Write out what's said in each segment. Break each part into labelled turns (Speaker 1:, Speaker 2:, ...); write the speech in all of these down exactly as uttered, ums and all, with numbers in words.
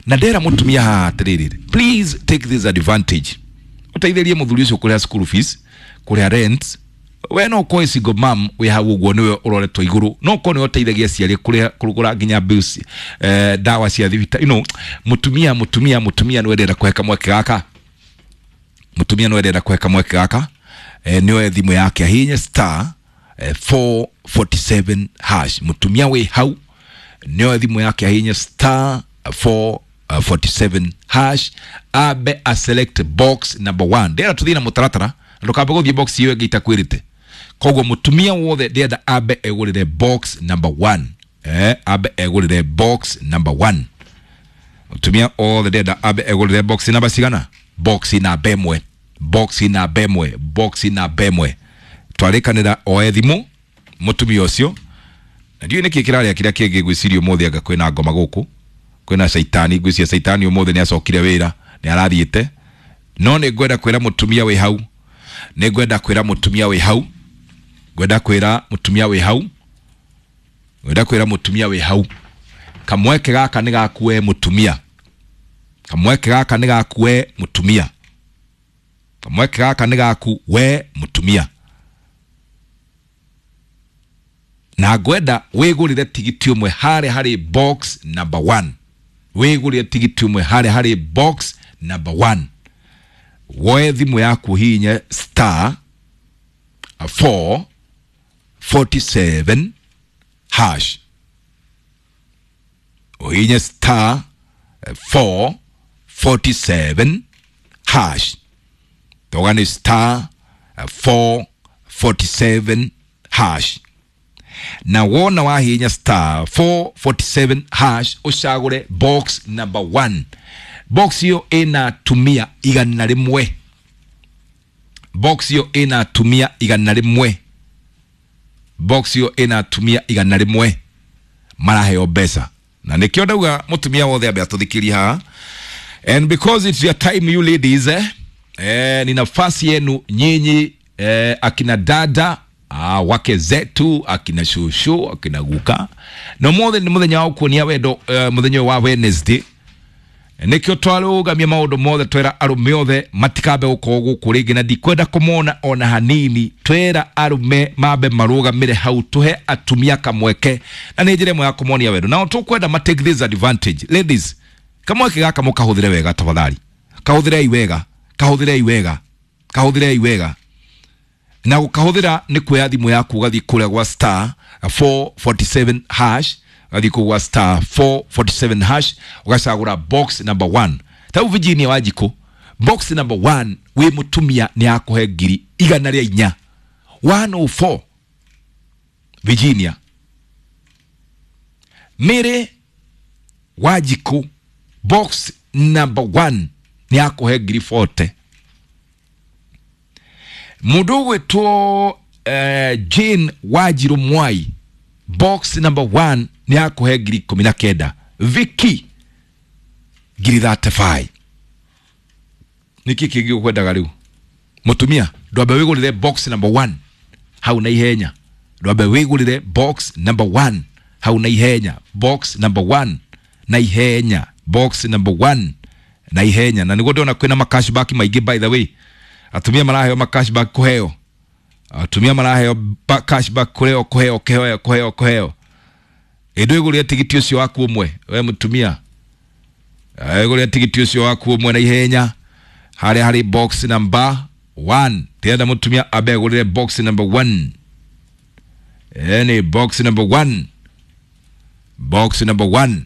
Speaker 1: Na ndera mutumia haha atiriri, please take this advantage, uteithĩrie mũthuri ũcio kũrĩha school fees, kũrĩha rent. We no ũkorwo single mom wĩ hau ũguo, nĩwe ũroretwo igũrũ, no ũkorwo nĩwe ũteithagia aciari kũrĩha, kũgũra nginya bills, eh, ndawa cia thibitarĩ. you know, mũtumia mũtumia mũtumia nĩwe ndĩrenda kũhe kamweke gaka. Mũtumia nĩwe ndĩrenda kũhe kamweke gaka. eh, nĩoe thimũ yake ahihinye star eh, four forty-seven hash. Mũtumia wĩ hau nĩoe thimũ yake ahihinye star four forty-seven hash, ambe a select box number one. Ndĩrenda tũthiĩ na mũtaratara na ndũkambe gũthiĩ box ĩyo ĩngĩ itakwĩrĩte. Koguo mũtumia wothe ndĩrenda ambe egũrĩre box number one. eh, ambe egũrĩre box number one. Mũtumia othe ndĩrenda ambe egũrĩre box namba cigana? Box namba ĩmwe, box namba ĩmwe, box namba ĩmwe. Twarĩkanĩra oe thimũ mũtumia ũcio. Na ndiũĩ nĩkĩ kĩrarĩa kĩrĩa kĩngĩ. Ngwĩciria ũmũthĩ anga kwĩna ngoma gũkũ, kwĩna caitani. Ngwĩciria caitani ũmũthĩ nĩ acokire wĩra, nĩ arathiĩte. No nĩ ngwenda kwĩra mũtumia wĩ hau, nĩ ngwenda kwĩra mũtumia wĩ hau, ngwenda kwĩra mũtumia wĩ hau, ngwenda kwĩra mũtumia wĩ hau, kamweke gaka nĩ gaku we mũtumia. Kamweke gaka nĩ gaku we mũtumia. Kamweke gaka nĩ gaku we mũtumia, na ngwenda wĩgũrĩre tigiti ũmwe harĩa harĩ box number one. Wĩgũrĩre tigiti ũmwe harĩa harĩ box number one. Woe thimũ yaku ũhihinye star four forty-seven hash. Ũhihinye star four forty-seven hash. Toga nĩ star four forty-seven hash. Na wona wahihinya star four forty-seven hash, ũcagũre box number one. Box ĩyo ĩna atumia igana rĩmwe. Box ĩyo ĩna atumia igana rĩmwe. Box ĩyo ĩna atumia igana rĩmwe maraheo mbeca. Na nĩkĩo ndauga mũtumia wothe ambe atũthikĩrie haha. And because it's your time, you ladies, eh, eh, ni nafasi yenu nyinyi, eh, akina dada, ah, wake zetu, akina shushu, akina guka, no mothe nĩ mũthenya wa kuonia wendo, eh, mũthenya ũyũ wa Wednesday. Nĩkĩo twarũgamia maũndũ mothe, twera arũme othe matikambe gũkorwo gũkũ rĩngĩ, na ndikwenda kũmona ona hanini. Twera arũme mambe marũgamĩre hau, tũhe atumia kamweke, na nĩ njĩra ĩmwe ya kũmonia wendo. Nao tũkwenda ma take this advantage. Ladies, kamweke gaka mũkahũthĩre wega, tafadhali. Kahũthĩrei wega, kahũthĩrei wega, kahũthĩrei wega. Na gũkahũthĩra nĩ kuoya thimũ yaku, ũgathiĩ kũrĩa gwa star four forty-seven hash, ũgathiĩ kũu gwa star four forty-seven hash, ũgacagũra box number one. Ta rĩu Virginia Wanjikũ, box number one wĩ mũtumia nĩ akũhe ngiri igana rĩa inya, one oh four. Virginia Mary Wanjikũ, box number one nĩ akũhe ngiri forty. Mũndũ ũgwĩtwo uh, Jane Wanjirũ Mwai, box number one nĩ akũhe ngiri ikũmi na kenda. Vicky, ngiri thirty-five. Nĩkĩ kĩngĩ ũkwendaga rĩu, mũtumia? Ndwambe wĩgũrĩre box number one hau na ihenya. Ndwambe wĩgũrĩre box number one hau na ihenya. Box number one na ihenya. Box number one na ihenya. Na nĩguo ndĩrona kwĩna ma cashback maingĩ. By the way, atumia maraheo ma cashback, kũheo, atumia maraheo ba- cashback, kũheo, kũheo, kũheo, kũheo, kũheo. Ĩndũ ĩgũrĩre tigiti ũcio waku ũmwe we mũtumia. Ĩgũrĩre tigiti ũcio waku ũmwe na ihenya harĩa harĩ box number one. Ndĩrenda mũtumia ambe agũrĩre box number one. Ĩni box number one, box number one.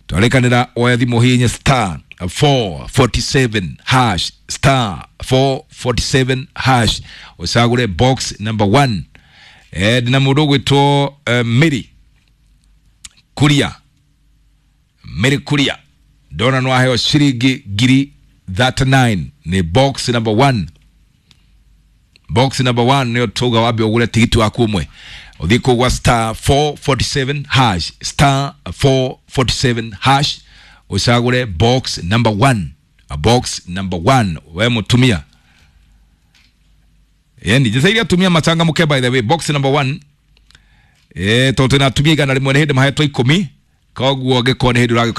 Speaker 1: Twarĩkanĩra oya thimũ, hihinye star four forty-seven hash, star four forty-seven hash, ũcagũre box number one. Eh, ndĩna mũndũ ũgwĩtwo uh, Mary Kuria. Mary Kuria ndona no aheo ciringi ngiri thirty-nine, nĩ box number one. Box number one nĩyo tauga wambe ũgũre tigiti waku ũmwe, ũthiĩ kũu gwa star four forty-seven hash, star four forty-seven hash, ũcagũre box number one. A box number one we mũtumia. Yani njĩtĩirie atumia machangamke. By the way, box number one, eh, tondũ twĩna atumia igana rĩmwe, nĩ hĩndĩ mahetwo ikũmi. Koguo angĩkorwo nĩ hĩndĩ ũragĩũka